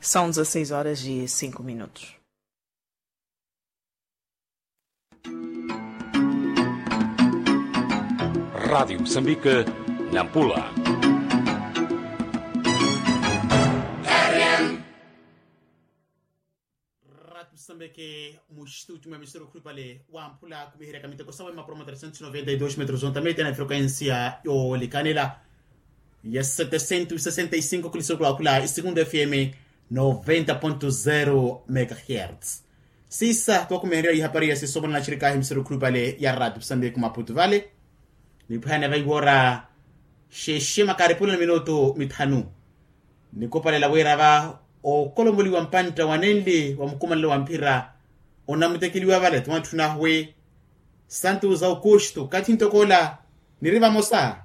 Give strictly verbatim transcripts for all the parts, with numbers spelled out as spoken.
São dezasseis horas e cinco minutos. Rádio Moçambique, Nampula. Ratu sambeke muxituti mwa misoro khulupale wamphula kumiheryaka miteko sawe mapuro ma trecentos noventa y dos metros ontamete na frequencia yoolekanela ya setecentos sesenta y cinco kulisokula khula isegundu fm noventa ponto zero megahertz. Sisa twakumiherya ihapari ya sisomo na naxirikahi misoro khulupale ya ratu sambeke maputu vale. Nipwihana vaiwora xexe makaripula na minutu mithanu. Nikopalela wira va okolomoliwa mpantta wa nenli wa mukumanelo wa mphira onamutekeliwa vale ti mwatthuna ahuwe santu za okuxtu kathi ntoko ola niri vamosa.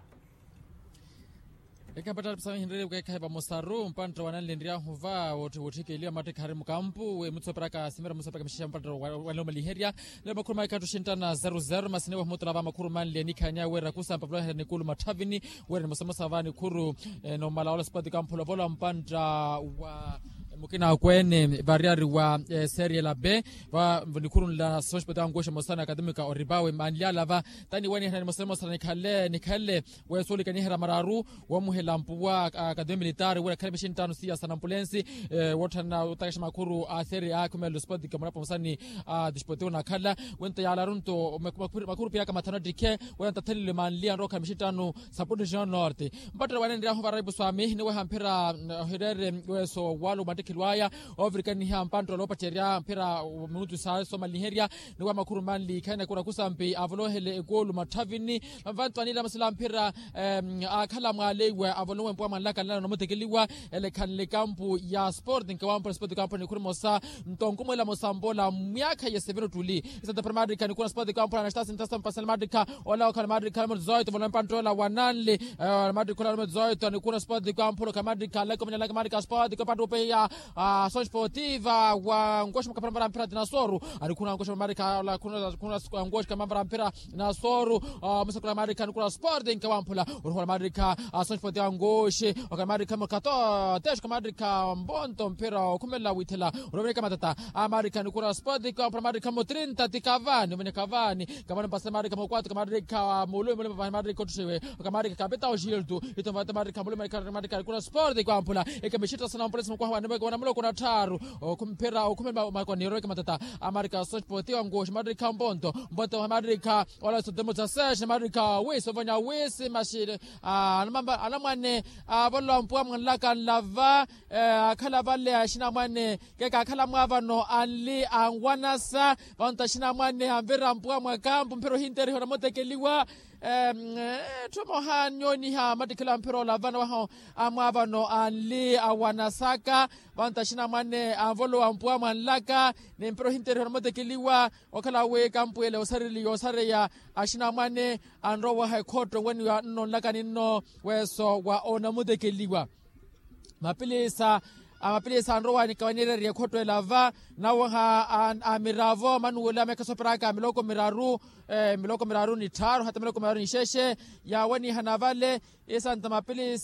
Ekapattari pisama hinrere kweekhayi vamosaru mpantta wa nanli nryahu va wotthikeliwa mattikha ari mukampu wi mutsoperaka simira mutsoperaka mixexa mpantta wa nlomaliherya. Lelo makhuru maikhattu xinttana zero zero masi niwe humutula va makhuru manle nikhanya wira kusampa vuloherya nikulu matthavini wira nimosamosa va nikhuru. Nomala ola sipoti kamphula vola mpantta wa mukina akweene variyari wa serie la be va nikhuru nla soxpoti ankuxa mosana akademika oripawe manlyala va taniwanihana nimosamosa nikhale nikhale. Weesuulikaniherya mararu woomuhela mpuwa akademia militaari wira khale mixinttano siya sa nampulensi. Wootthana otakexa makhuru a serie a khumelo sipoti kamurapa mosani a disportivo nakhala wento yaalaru nto makhuru piyaka mathanu attikhe wira ntathanilwe manli anrowa khale mixinttano sa porto regional norte. Mpattere wanenryahu varaipu swami niweha mphira ohireere weso walo mattikhelo aya ovirikaniha mpanttolo opacerya mphira minutu sa somaliherya niwa makhuru manli khaina kura kusampi avolohele ekulu matthavini. Vantu anila masila mphira akhala mwaleiwe avolowe mpuwa mwanlaka nlala nomutekeliwa ele khanle kampu ya sport nkewamphula sport kamphula nikhuru mosa nto nkumwela mosambola myaakha yeseveni ottuli. Isanta primatika nikuna sport kamphula na stasi ntasa mpasani matika ola okhala matika numero dezoito volowe mpanttoola wa nanli. Matika ola numero dezoito nikuna sport kamphula okhala matika lake omanya lake matika sport kamphula tupeya. Asoxpotiva wa nkoxi mukapharapara mphira tinasoru. Anikhuna nkoxi mamarika ola khuna nkoxi kamamara mphira. Nasoru musakula marika nikula sport nkewamphula. Oruhola marika asoxpotiva nkoxi okhala marika murkato atexo okhala marika mbonto mphira okhumelela withela. Oroveneka matata amarika nikula sport nkewamphula marika mutrinta tikavani oveneka vani. Kamano mpasela marika mukwatu kamarika mulumi mulumi marika otthuxiwe. Kamarika kapita oxiltu. Ito mvata marika mulumi marika marika kuna sport kwamphula. Eka mixita sana mpulesi mukwaha wanamuloko na tharu okhumphira okhumela makoni yoroweke matata. Amarika soxpotiwa nkuxi marika mponto mponto marika ola sotemo tsa sexe marika wisi ovanya wisi maxile. Anamamba anamwane avolowa mpuwa mwanlaka nlava akhala vale axinamwane. Kekakhala mwaavano anli anwanasa. Vantu axinamwane anvira mpuwa mwa kampu mphira ohinteriha onamutekeliwa. Etthu emoha nyooniha mattikhelo a mphira olavana waho. Amwaavano anli awanasaka vantu axinamwane anvolowa mpuwa mwanlaka. Ni mphira ohinteriha onamutekeliwa okhala wi kampu ele osareliwa osareya. Axinamwane anrowaha ekhotto weniwa nno nlaka ninno weso wa onamutekeliwa. Mapilisa amapilisa anrowa nikawanirerya ekhotto elava. Nawaha amiravo manuwela mekha soperaka miloko miraru miloko miraru ni tthaaru hata miloko miraru ni xexe. Yawanihana vale isanta mapilisa